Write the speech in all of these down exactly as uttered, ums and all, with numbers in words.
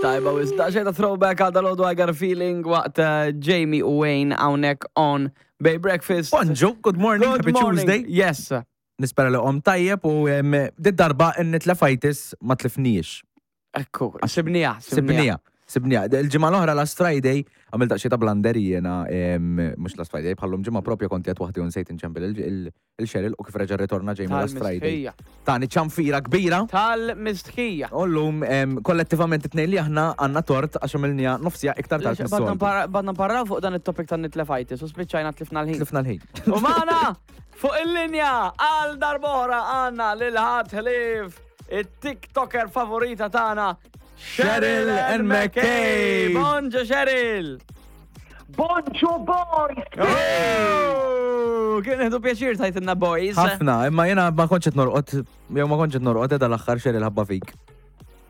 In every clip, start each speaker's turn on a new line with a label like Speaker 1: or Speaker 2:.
Speaker 1: Tajba, wis daqsxejn ta' throwback għal dal I Got a Feeling waqt eh, Jamie u Wayne hawnhekk on Bay Breakfast.
Speaker 2: Bonġu, good morning,
Speaker 1: Good
Speaker 2: happy
Speaker 1: morning.
Speaker 2: Tuesday.
Speaker 1: Yes.
Speaker 2: Nispera li qom tajjeb u em, dit darba n-nitlefajtis ma tlifnijiex.
Speaker 1: Ekku, sibnija,
Speaker 2: Sibnija. Sibnija. Il-ġimgħa l-oħra last Friday għamilt daqsxejn ta' blunder jiena em, mhux last Friday bħallum ġimgħa propja kont qed waħdi u nsejt inċempel il- il- il-Cheryl u kif reġa' ritorna Jamie last Friday.
Speaker 1: Tal-mistħija.
Speaker 2: Tani ċanfira kbira.
Speaker 1: Tal-mistħija.
Speaker 2: U llum em, kollettivament it-tnejn li aħna għandna tort għax għamilnija nofsija iktar tard
Speaker 1: Badna
Speaker 2: mis-soltu.
Speaker 1: npara- Badna nparraw fuq dan it-topic tan-nitlefajtis u spiċċajna tlifna l-ħin.
Speaker 2: Tlifna l-ħin.
Speaker 1: U magħna fuq il-linja għal darbora għandna lil ħadd ħlief it-TikToker favorita tagħna
Speaker 2: Cheryl N. McKay.
Speaker 1: Bonġu Cheryl!
Speaker 3: Bonġu boys!
Speaker 1: Oh, Kien nieħdu pjaċir tajtilna boys.
Speaker 2: Ħafna, imma jena ma kontx qed norqod, jew ma kontx qed norqod edha l-aħħar Cheryl ħabba fik.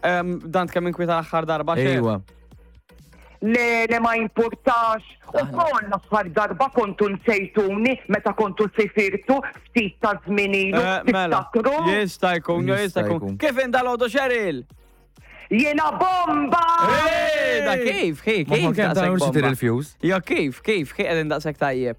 Speaker 1: Em, Dan kemm inkwieta l-aħħar darba xejn.
Speaker 2: Ejwa.
Speaker 3: Le, le ma importax. U kol l-aħħar darba kontu nsejtuni meta kontu sifirtu ftit ta' żmien ilu.
Speaker 1: Eh, Mela,
Speaker 3: Tiftakru?
Speaker 1: jista' jkun,
Speaker 2: Jista'
Speaker 1: jista' jkun.
Speaker 2: jkun.
Speaker 1: Kif indalodu Cheryl?
Speaker 3: Jiena bomba!
Speaker 1: Eh, Da kif, kif,
Speaker 2: Ma
Speaker 1: kif
Speaker 2: kemm ta'
Speaker 1: daqshekk
Speaker 2: mhux
Speaker 1: bomba?
Speaker 2: il-fuse.
Speaker 1: Jo, kif, kif, kif qegħdin daqshekk tajjeb?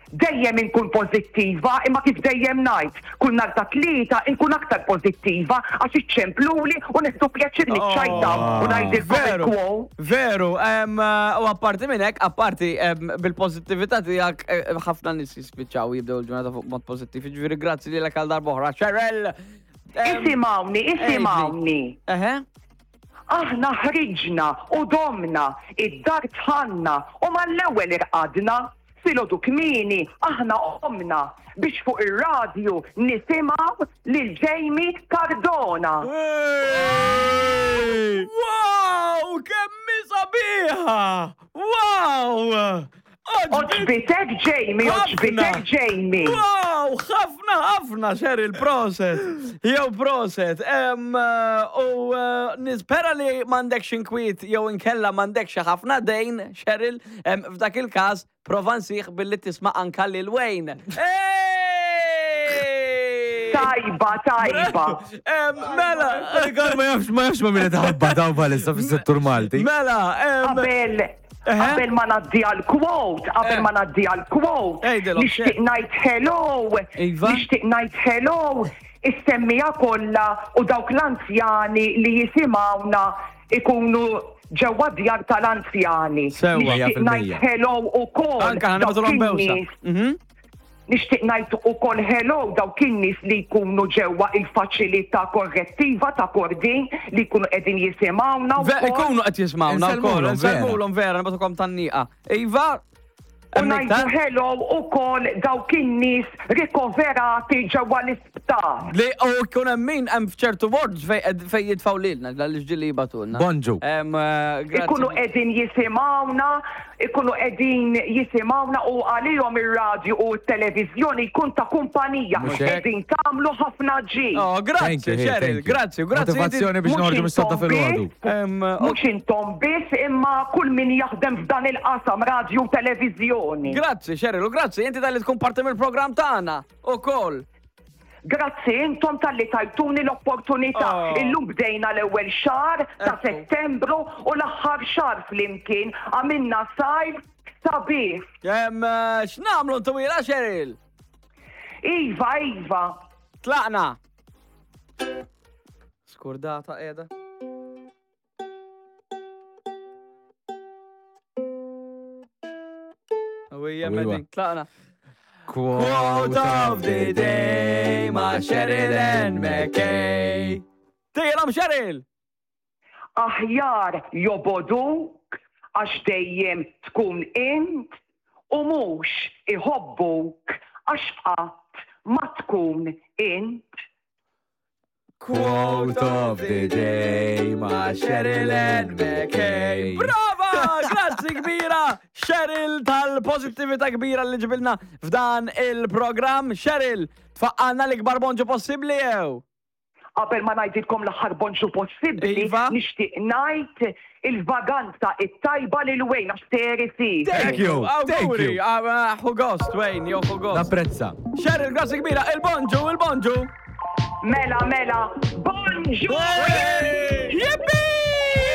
Speaker 3: Dejjem inkun pożittiva, imma kif dejjem ngħid, kull nhar ta' tlieta inkun aktar pożittiva għax iċċempluli u nieħdu pjaċir niċċajtaw u ngħidilkom
Speaker 1: Veru,
Speaker 3: il-quote.
Speaker 1: veru, em, eh, u apparti minn hekk, apparti em, bil-pożittività tiegħek eh, ħafna nies jispiċċaw jibdew il-ġurnata fuq mod pożittiv. Jiġifieri grazzi lilek għal darb'oħra. Cheryl! Em,
Speaker 3: Isimgħuni, isimgħuni.
Speaker 1: Eħe?
Speaker 3: Aħna ħriġna u domna, id-dar tħanna u mal-ewwel irqadna, filgħodu kmieni aħna qomna biex fuq ir-radju nisimgħu lil Jamie Cardona.
Speaker 1: Wow, kemm hi sabiħa! Wow!
Speaker 3: Oġbitek Jamie, oġbitek Jamie.
Speaker 1: Wow, ħafna, ħafna, Cheryl, proset. Jew proset. Em, eh, U eh, nispera li m'għandekx inkwiet jew inkella m'għandekx ħafna dejn, Cheryl, em, f'dak il-każ prova nsieħ billi tisma' anka lil Wayne. Ej!
Speaker 3: Tajba, tajba.
Speaker 1: Em, Mela,
Speaker 2: Rikard ma jafx ma jafx ma min taħabba daw bħalissa fis-settur Malti.
Speaker 1: mela, em,
Speaker 3: Qabel
Speaker 1: Eħe.
Speaker 3: qabel ma naddi għal quote, qabel
Speaker 1: Eh.
Speaker 3: ma naddi għal quote,
Speaker 1: Ejdilhom,
Speaker 3: nixtieq
Speaker 1: xe-
Speaker 3: ngħid hello,
Speaker 1: Iva.
Speaker 3: nixtieq ngħid hello, is-semmija kollha u dawk l-anzjani li jisimgħuna ikunu ġewwa djar tal-anzjani.
Speaker 1: Sewwa.
Speaker 3: Nixtieq
Speaker 2: Mija fil-mija.
Speaker 3: ngħid hello ukoll.
Speaker 1: anka ħana
Speaker 3: dawk
Speaker 1: batulhom bewsa.
Speaker 3: in-nies
Speaker 1: Mhm.
Speaker 3: Nixtieq ngħid ukoll hello dawk in-nies li jkunu ġewwa il-faċilità korrettiva ta' Kordin li jkunu qegħdin jisimgħuna
Speaker 1: Ve-
Speaker 3: wkoll.
Speaker 1: Ikunu qed jismawna wkoll,
Speaker 2: Insellmulhom, vera.
Speaker 1: insellmulhom vera, nibatukom tan-nieqa. Iva,
Speaker 3: U
Speaker 1: hemm
Speaker 3: ngħidu
Speaker 1: iktar?
Speaker 3: hello ukoll dawk in-nies rikoverati ġewwa l-isptar.
Speaker 1: Li u jkun hemm min hemm f'ċertu words fej fej jitfgħu lilna l-ġili jibatulna.
Speaker 2: Bonġu.
Speaker 1: Em, eh, grazzi.
Speaker 3: Ikunu qegħdin jisimgħuna, ikunu qegħdin jisimgħuna u għalihom ir-radju u t-televiżjoni jkun ta' kumpanija.
Speaker 2: Mhux hekk?
Speaker 3: Qegħdin tagħmlu ħafna ġid.
Speaker 1: Oh,
Speaker 2: Thank
Speaker 1: grazzi,
Speaker 2: you, hey,
Speaker 1: Cheryl,
Speaker 2: thank you.
Speaker 1: grazzi, grazzi.
Speaker 2: Motivazzjoni biex
Speaker 3: Mhux
Speaker 2: noħorġu mis-sodda
Speaker 3: intom
Speaker 2: fil-ħodu.
Speaker 3: biss,
Speaker 1: Em,
Speaker 3: Mhux intom biss imma kull min jaħdem f'dan il-qasam radju u televiżjoni.
Speaker 1: Grazzi, Cheryl, u grazzi, inti tal-li tkun parti mill-programm tagħna ukoll.
Speaker 3: Grazzi intom tal-li tajtuni l-opportunità.
Speaker 1: Oh.
Speaker 3: Illum bdejna l-ewwel xahar ta'
Speaker 1: Ekku.
Speaker 3: Settembru u l-aħħar xahar flimkien għamilna sajf sabiħ.
Speaker 1: Em, eh, x'nagħmlu ntwila, Cheryl?
Speaker 3: Iva, iva.
Speaker 1: Tlaqna. Skurdata qiegħda. Ewwija,
Speaker 2: Ewwa.
Speaker 1: Medin, tlaqna.
Speaker 2: Quote
Speaker 1: of the day ma' Cheryl N. McKay. Tejlom Cheryl!
Speaker 3: Aħjar joboduk għax dejjem tkun int u mhux iħobbuk għax qatt ma tkun int.
Speaker 2: Quote of the day ma'
Speaker 1: Cheryl N. McKay. Brava! Grazzi kbira! Cheryl tal-pozittività kbira li ġibilna f'dan il-programm. Cheryl, tfaqqalna l-ikbar bonġu possibbli jew?
Speaker 3: Qabel ma ngħidilkom l-aħħar bonġu possibbli,
Speaker 1: Iva.
Speaker 3: nixtieq ngħid il-vaganza it-tajba lil Wayne għax seri fih.
Speaker 2: Thank you, thank
Speaker 1: Awguri,
Speaker 2: you.
Speaker 1: ah, ah, Ħu gost, Wayne, jew ħu gost.
Speaker 2: Napprezza.
Speaker 1: Cheryl, grazzi kbira, il-bonġu, il-bonġu!
Speaker 3: Mela, mela, bonġu!
Speaker 1: Hey!